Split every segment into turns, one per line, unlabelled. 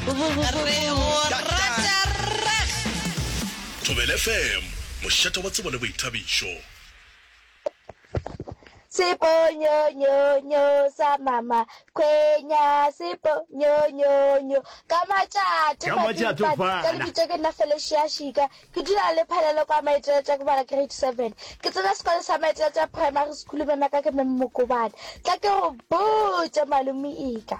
Re go rata reg.
Thobela FM, mošate wa tsebo le boithabišo.
Seponyonyonyo sa mama Khwenya seponyonyonyo ka matšato
Ka matšato
Mapimpane ka
fana.
lebitso ke nna Felicia Shika ke dula le Phalelo kwa Maiteletša ke bala grade 7 ke tsena sekolo sa Maiteletša Primary School mema ka ke Mem Mokobane tla ke go botše malome Ika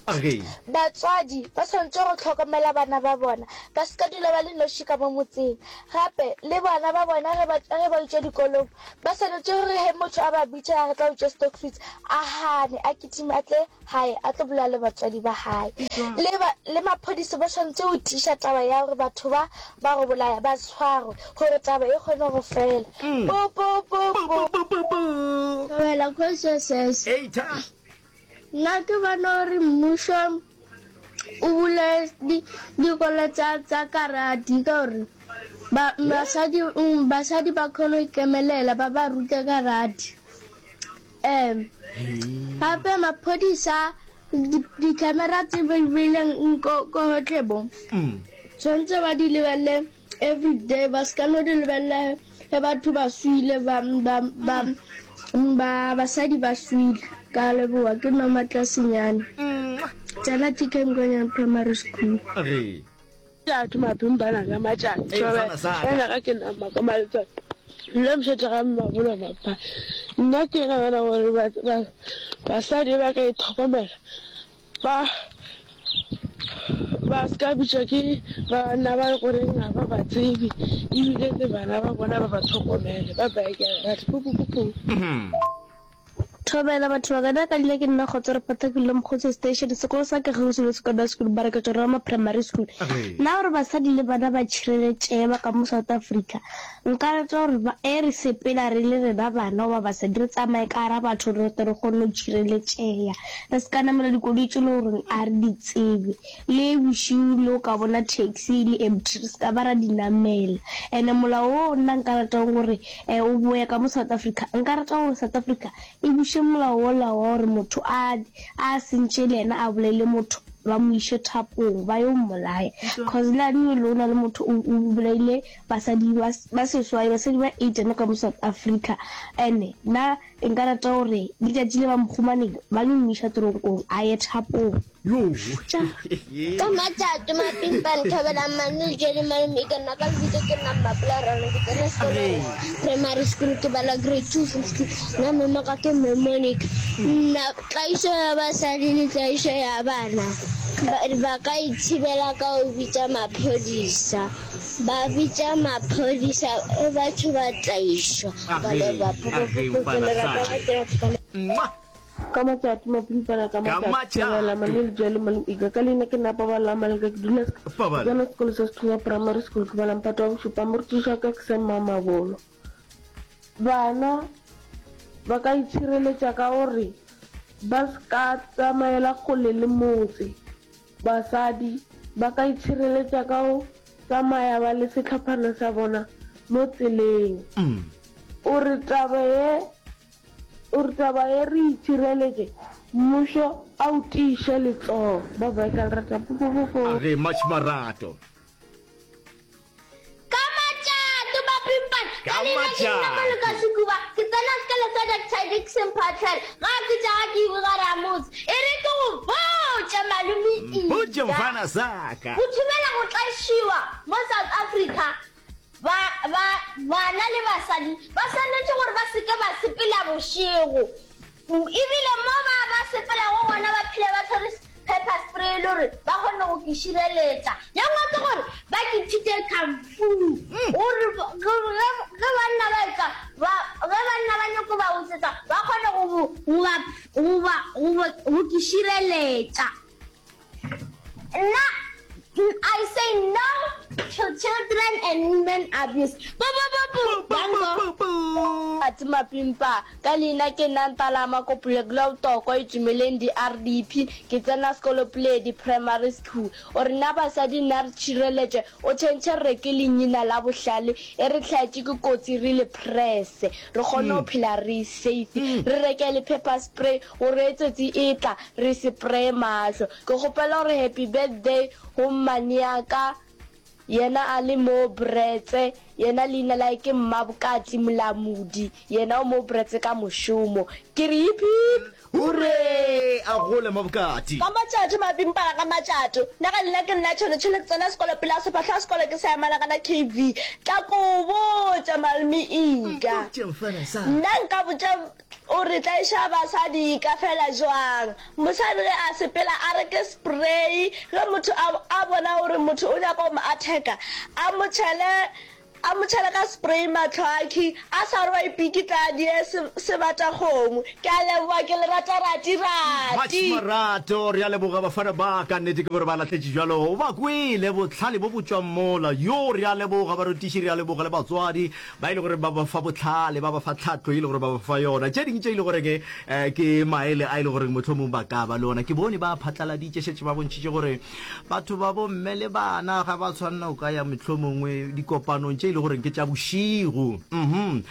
Age.
Batswadi ba swanetše go hlokomela bana ba bona, ba se ka dula ba le noši ka mo motseng. Gape, le bana ba bona ge ba, ge ba etšwa dikolong, ba swanetše gore ge motho a ba bitša a re tla utswa stockfeeds, a gane, a kitime a tle gae a tlo bolela le batswadi ba gae. Le ba, le maphodisa ba swanetše go tiiša taba ya gore batho ba ba go bolaya ba tshwarwe, gore taba e kgone go fela. Pu, pu, pu, pu.
Pu, pu, pu, pu.
Thobela Kgosi
Eita.
Nna ke bona gore mmušo o bule dikolo tsa tsa karate ka gore ba basadi basadi ba kgone go ikemelela ba ba rute karate. Um gape maphodisa di-camera tse ba di beileng ko gotlhe mo tshwanetse ba di lebelele. Everyday ba ska no di lebelela ge batho ba swile ba ba ba ba basadi ba swile. Ka leboga ke Noma Tlasenyane. Tsena TK Mokonyane Primary School.
Re.
Matšatši mapimpana ka matšatši
Ee, mfana sa ka.
Ena ga ke na maka maletswalo nna mošate ga mmabolo mapa nna ke nagana gore basadi ba ka itlhokomela Ba, ba se ka bitšwa ke banna ba le goreng ga ba ba tsebe, ebile le bana ba bona ba ba tlhokomele. Ba bye, ke a le rata. Pu, pu, pu, pu.
Thobela batho ba ka nna ka leina ke nna Kgotso Repota ke dula Mokgotse Station sekolo sa ka kgauswi le secondary school mara ke tšwa Roma Primary School nna gore basadi le bana ba tšhireletšege ba ka mo South Africa Nka rata gore ba, ge re sepela re le rena bana goba basadi, re tsamaye ka gara batho re tle re kgone go tšhireletšega. Re se ka namela dikoloi tše e le goreng a re di tsebe. Le bošego le o ka bona taxi e le empty, re se ka ba ra di namela. And-e molao wo nna nka ratang gore o boye ka mo South Africa, nka rata gore South Africa e buše molao wola wa gore motho a, a sentše le yena a bolaile motho, ba mo iše thapong ba yo mmolaya. Cause le gane o na le motho o, o bolaile Basadi ba ba seswai, basadi ba 8 mo ka mo South Africa. And nna nka rata gore letšatši le ba mo humaneng ba yo mo iša toronkong a ye thapong. Tša.
Ka matšato mapimpane Thobelang Manu le Jerry Malome Ika nna ka lebitso ke nna Mmapula Rano ke tsena sekolo primary school ke bala grade 250 nna mme ka ke mme Monica nna tlaišo ya basadi le tlaišo ya bana ba, ba ka ithibela ka go bitša maphodisa Ba bitša maphodisa e batho ba tlaišwa. Ba
Age,
leboga
age,
Phokopoko
mfana
lerato
sa
ga ke rata.
Mwah!
Ka matšatši mapimpana ka
Ka
matšatši
matšato.
Thobela Manu Lejwale Malome Ika ka leina ke nna Paballo Amaleka ke dula ke
Paballo.
tsena sekolo sa Sethunya Primary School ke bala mphato wa bošupa morutiši wa ka ke Sam Mamabolo Bana ba ka itšhireletša ka gore ba se ka tsamaela kgole le motse Basadi ba ka itšhireletša ka go tsamaya ba le sehlophana sa bona mo tseleng. O re taba ye, o re taba ye re itšhireletše, mmušo a o tiiše letsogo. Ba bye ka lerata. Po po po po.
A re much marato.
Ka matšato, Mapimpana.
Ka
Ka leina ke nna
matšato.
Maloka Sekuba. Ke tsena sekolo sa Doctor Dickson Phatlhela. Ga ke tša ga ke iwe gare ga motse. E re ke go botše Malome
Mpotše
Ida.
mfana sa ka.
Go thibela go tlaišiwa mo South Africa, ba, ba, bana le basadi ba swanetše gore ba se ke ba sepela bošego. E bile mo ba ba sepelago gona ba phele ba tshwere pepper spray e le gore ba kgone go ke šireletša. Ye nngwe ke gore ba ke thute kung fu gore ge banna ba etla ba ge banna ba nyako ba utswetsa ba kgone go go ba go ba go ke šireletša. Nna I say no to children. and Women Abuse. Pu pu pu pu! Danko.
Atse Mapimpa, Ka leina ke nna Ntalama Kopulekula Botokwa Itumeleng di RDP, ke tsena sekolo Puledi Primary School. O re na basadi nna re tšhireletše, o tšhentšhe re reke lenyina la bohlale e re hlaetše ke kotsi re le presse re kgone go phela re safe, re reke le pepper spray gore ge tsotsi e tla re se preye mahlo. Ke kgopela gore happy birthday go mmaneaka Yena a le mo Bretse, yena leina la ke Mmabokatsi Molamodi, yena o mo Bretse ka mošomo. Ke re hip hip
hurray! A gole Mmabokati.
Ka matšato mapimpana ka matšato. Nna ga leina ke nna Tšhone Tšhone ke tsena sekolo pele a sephahlo a sekolo ke sa ya Malagana KV. Tla ko botša malome Ika. Nna nka botša O re tlaiša basadi ka fela jwang? Mosadi ge a sepela a reke spray ge motho a a bona gore motho o nyaka go mo attacker a mo tšhele a mo tšhele ka spray mahlo akhi a sa re wa ipikitla a die se sebata kgomo. Ke a leboga ke le rata rati
Much
rati.
marato, re a leboga bafana ba ka nnete ke gore ba lahletše bjalo o ba kwele bohlale bo bo tšwang mola yo re a leboga barutiši re a leboga le batswadi Ba e le gore ba ba fa bohlale, ba ba fa tlhahlo e le gore ba ba fa yona. Tše dingwe tše e le goreng um ke maele a e le goreng mohlomong ba ka ba le ona. Ke bone ba phatlaladitše, šetše ba bontšhitše gore batho ba bomme le bana ga ba tshwanela go ka ya mohlomongwe dikopanong tše e le goreng ke tša bošego. Mhm. Um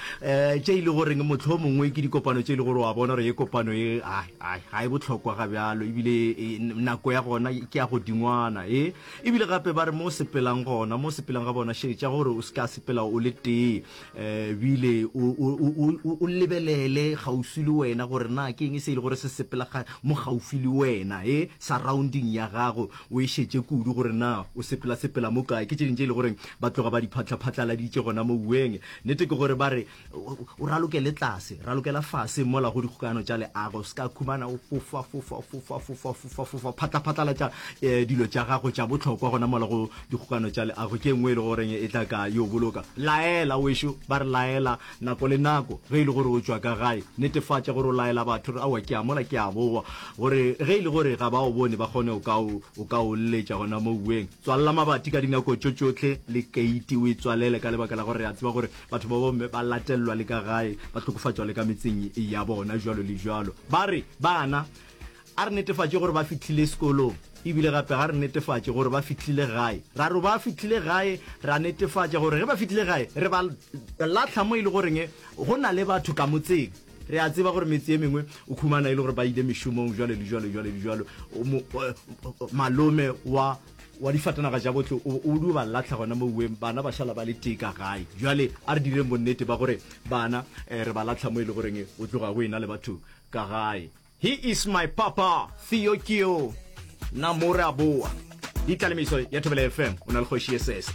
tše e le goreng mohlomongwe ke dikopano tše e le gore wa bona gore ye kopano ye ai ai ga e bohlokwa ga bjalo ebile e, nako ya gona ke ya godingwana e. E bile gape ba re mo o sepelang gona, mo o sepelang ga bona, šetša gore o se ka sepela o le tee, e bile o, o, o, o, o lebelele kgauswi le wena gore na ke eng se e le gore se sepela ga, mo gaufi le wena, e, surrounding ya gago, o e šetše kudu gore na o sepela-sepela mo kae. Ke tše dingwe tše e le gore ba tloga ba di phatla-phatlaladitše gona mo ueng. Nnete ke gore ba re O ralokele tlase, ralokela fase mola go dikgokagano tša leago, se ka khumana o fofa, fofa, fofa, fofa, fofa, fofa, phatla-phatlalatša eh, dilo tša gago tša bohlokwa gona mola go dikgokagano tša leago. Ke e nngwe e le goreng e tla ka yo boloka. Laela wešo, ba re laela nako le nako ge e le gore o tšwa ka gae, netefatša gore o laela batho gore aowa ke a mola ke a boa, gore ge e le gore ga ba o bone ba kgone o ka o, o ka o lletša gona mo uweng. Tswalela mabati ka dinako tšo tšohle le keiti o e tswalele ka lebaka la gore re a tseba gore Batho ba bomme ba latelelwa le ka gae, ba hlokofatšwa le ka metseng ya bona, jwalo le jwalo. Ba re, Bana, a re netefatše gore ba fihlile sekolong, e bile gape ga re netefatše gore ba fihlile gae. Ra re ba fihlile gae, ra netefatša gore ge ba fihlile gae, re ba lahla mo e le goreng go na le batho ka motseng. Re a tseba gore metse ye mengwe o khumana e le gore ba ile mešomong, jwalo le jwalo, jwalo le jwalo. Malome wa wa difatanaga tša bohle o, o dio ba lahla gona mo uweng, bana ba šala ba le tee ka gae. Bjale a re direng bonnete ba gore bana eh, re ba lahla mo e le goreng o tloga go ena le batho ka gae. He is my papa, Theo Keo. Na mo re a boa. Di tlalemiso ya Thobela FM, o na le Kgoši Esese.